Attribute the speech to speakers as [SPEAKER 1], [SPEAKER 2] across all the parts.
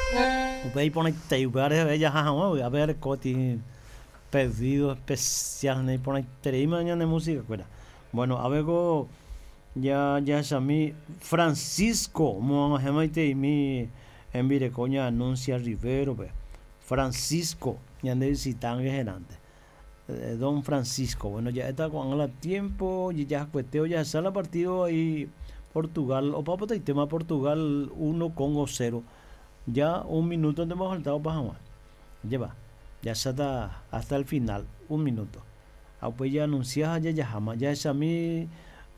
[SPEAKER 1] Upéi iporãitei upéva reheve jaha hag̃ua vy'ápe jareko peteĩ pedido especial naiporãitereíma ñane música-kuéra. Bueno, ápe ko jahechami Francisco omoag̃uahẽmaiteimi hembireko ñaanuncia Rivero-pe. Francisco ñande visitánte herãnte. Don Francisco. Bueno, ja'éta ko'ág̃a la tiempo jejahakuete ojahecha la partido ahí Portugal, opa potaitéma Portugal 1 Congo 0. Ya un minuto ntema ofalta opa hag̃ua. Ajépa, jahecháta hasta el final, un minuto. Ha upéi jaanuncia ha jajaháma. Jahechami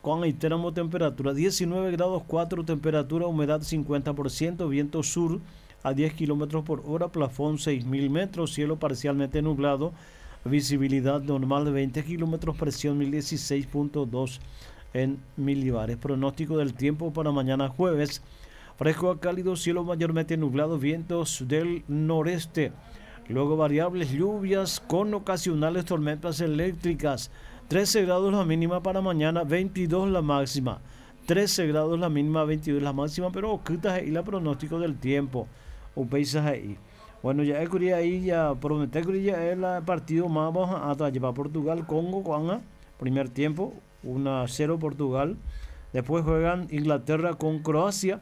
[SPEAKER 1] ko'ag̃aitéramo temperatura, 19 grados 4 temperatura, humedad 50%, viento sur a 10 kilómetros por hora, plafón 6000 metros, cielo parcialmente nublado, visibilidad normal de 20 kilómetros, presión 1016.2 en milibares. Pronóstico del tiempo para mañana jueves. Fresco a cálido, cielo mayormente nublado, vientos del noreste. Luego variables lluvias con ocasionales tormentas eléctricas. 13 grados la mínima para mañana, 22 la máxima. 13 grados la mínima, 22 la máxima, pero okýta he'i la pronóstico del tiempo. Upéicha he'i. Bueno, ja'ékuri ahí ya prometékuri ja'e la partido máva oha'ãta ajépa Portugal, Congo ko'ág̃a, primer tiempo, 1 a 0 Portugal. Después juegan Inglaterra con Croacia.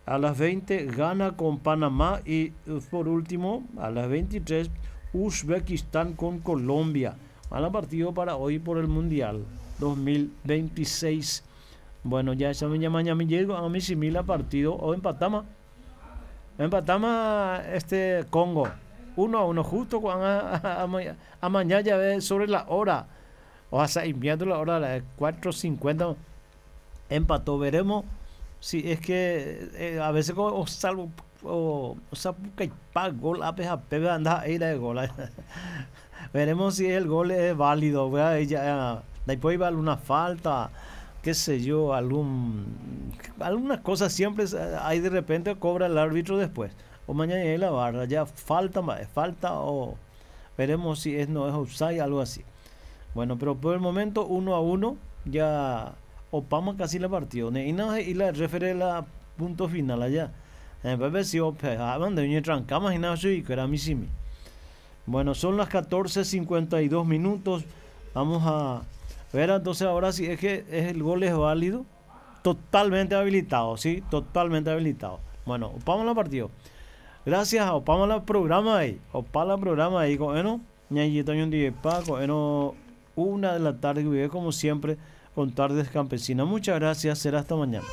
[SPEAKER 1] A las 20 Ghana con Panamá y por último a las 23 Uzbekistán con Colombia. Mala partido para hoy por el Mundial 2026. Bueno, ya esa me llama mi llego a mi simila partido o empatama. Empatama este Congo. 1 a 1 justo cuando a, mañana ya ve sobre la hora. O sea, enviando la hora a las 4.50 empató. Veremos si es que eh, a veces o salvo o, o sea, gol a anda de gol. Veremos si el gol es válido. Ya, después iba alguna falta, qué sé yo, algún alguna cosa siempre hay de repente cobra el árbitro después. O mañana en la barra, ya falta, falta o veremos si es no es offside, algo así. Bueno, pero por el momento 1 a 1 ya opama casi la partido. Y no y la refiere la punto final allá. Bueno, son las 14.52 minutos. Vamos a ver entonces ahora si es que el gol es válido. Totalmente habilitado, sí, totalmente habilitado. Bueno, opamos la partido. Gracias, opamos la programa ahí. Opamos la programa ahí. Bueno, bueno, una de la tarde, como siempre, con Tardes Campesinas. Muchas gracias, será hasta mañana.